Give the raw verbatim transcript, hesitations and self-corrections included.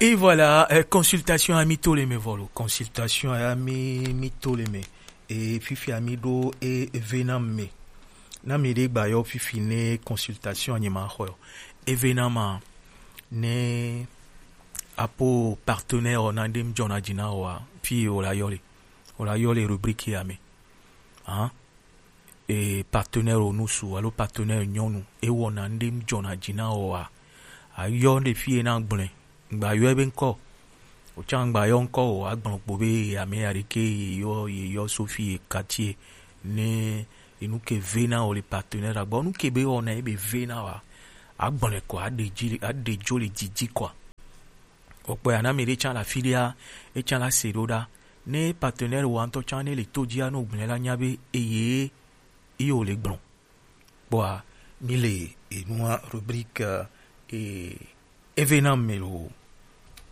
Et voilà, euh, consultation à mi to le me volo. Consultation à mi, mi to le me. Et fifi à mi do et venant me. Na mi de gba yo fifi ne consultation à nima ho. Et venant ma ne apo partenaire o na dem jona jina o a. Fi o la yole. O la yole rubrique à me. Hein? E partenaire o nusu alo partenaire nyɔnu e wɔna ŋɖe ŋdzɔna dzi na wòa, ayɔ ɖe fie na gblẽ. Ŋgba yɔe be ŋkɔ. Wòtsa ŋgba yɔ ŋkɔ o, agblɔ kpo be ame ya ɖeke yeyɔ, yeyɔ so fie quartier ne enu ke ve na wò le partenaire agbɔ. Nu ke be wɔna ebe ve na wòa, agblɔe kɔ, aɖe dzi, aɖe dzo le dzidzi kɔa. Wòkpɔe ana mi ɖe tsã le afi ɖea, etsã la se ɖo ɖa. Ne partenaire wòa ŋutɔ tsã ne le to dzia, no gblẽ la nya be eye ye wòle gblɔ. Kpɔa, mi le enua rubrique, eh, événement me lo.